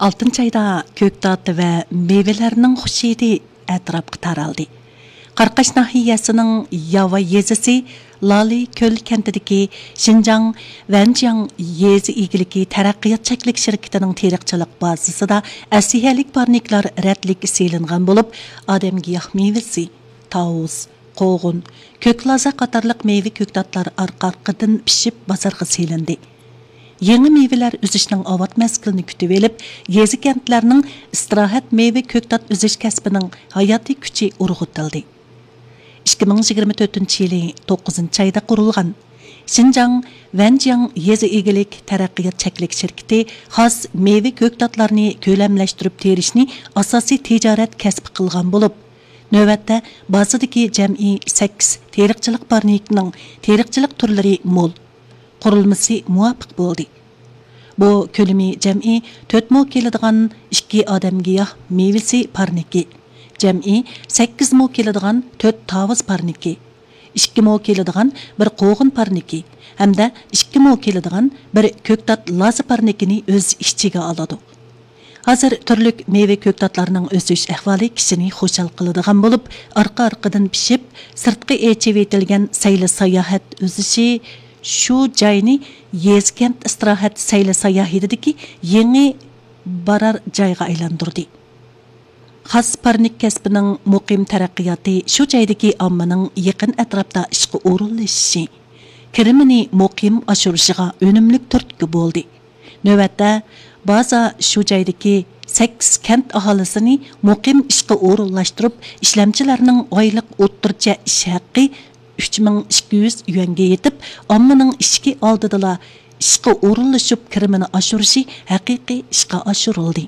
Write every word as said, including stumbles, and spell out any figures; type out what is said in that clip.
ئالتىنچى ئايدا كۆكتات ۋە مېۋىلەرنىڭ خۇش ھىدى ئەتراپقا تارالدى. قاراقاش ناھىيەسىنىڭ ياۋا يېزىسى لالى كۆل كەنتىدىكى شىنجاڭ ۋەنجياڭ يېزا ئىگىلىكى تەرەققىيات چەكلىك شىركىتىنىڭ تېرىقچىلىق بازىسىدا ئەسلىھەلىك پارنىكلار رەتلىك سېلىنغان بولۇپ، ئادەمگىياھ مېۋىسى، تاۋۇز، قوغۇن، كۆك لازا قاتارلىق مېۋە كۆكتاتلار ئارقا-ئارقىدىن پىشىپ بازارغا سېلىندى. يېڭى مېۋىلەر ئۈزۈشنىڭ ئاۋات مەزگىلىنى كۈتۈۋېلىپ، يېزا-كەنتلەرنىڭ ئىستىراھەت مېۋە كۆكتات ئۈزۈش كەسپىنىڭ ھاياتىي كۈچى ئۇرغۇتۇلدى. ئىككى مىڭ يىگىرمە تۆتىنچى يىلى توققۇزىنچى ئايدا قۇرۇلغان شىنجاڭ ۋەنجياڭ يېزا ئىگىلىك تەرەققىيات چەكلىك شىركىتى خاس مېۋە كۆكتاتلارنى كۆلەملەشتۈرۈپ تېرىشنى ئاساسىي تىجارەت كەسپى قىلغان بولۇپ، نۆۋەتتە بازىدىكى جەمئىي سەككىز تېرىقچىلىق پارنىكىنىڭ تېرىقچىلىق تۈرلىرى مول، قۇرۇلمىسى مۇۋاپىق بولدى. بۇ كۆلىمى جەمئىي تۆت مو كېلىدىغان ئىككى ئادەمگىياھ مېۋىسى پارنىكى، جەمئىي سەككىز مو كېلىدىغان تۆت تاۋۇز پارنىكى، ئىككى مو كېلىدىغان بىر قوغۇن پارنىكى ھەمدە ئىككى مو كېلىدىغان بىر كۆكتات لازا پارنىكىنى ئۆز ئىچىگە ئالىدۇ. ھازىر تۈرلۈك مېۋە كۆكتاتلارنىڭ ئۆسۈش ئەھۋالى كىشىنى خۇشال قىلىدىغان بولۇپ، ئارقا-ئارقىدىن پىشىپ، سىرتقا ئېچىۋېتىلگەن سەيلە ساياھەت ئۈزۈشى شۇ جاينى يېزا-كەنت ئىستىراھەت سەيلە ساياھىتىدىكى يېڭى بارار جايغا ئايلاندۇردى. خاس پارنىك كەسپىنىڭ مۇقىم تەرەققىياتى شۇ جايدىكى ئاممىنىڭ يېقىن ئەتراپتا ئىشقا ئورۇنلىشىشى، كىرىمىنى مۇقىم ئاشۇرۇشىغا ئۈنۈملۈك تۈرتكە بولدى. نۆۋەتتە، بازا شۇ جايدىكى سەككىز كەنت ئاھالىسىنى مۇقىم ئىشقا ئورۇنلاشتۇرۇپ، ئىشلەمچىلەرنىڭ ئايلىق ئوتتۇرىچە ئىش ھەققى ئۈچ مىڭ ئىككى يۈز يۈەنگە يېتىپ، ئاممىنىڭ ئىشىكى ئالدىدىلا ئىشقا ئورۇنلىشىپ، كىرىمىنى ئاشۇرۇشى ھەقىقىي ئىشقا ئاشۇرۇلدى.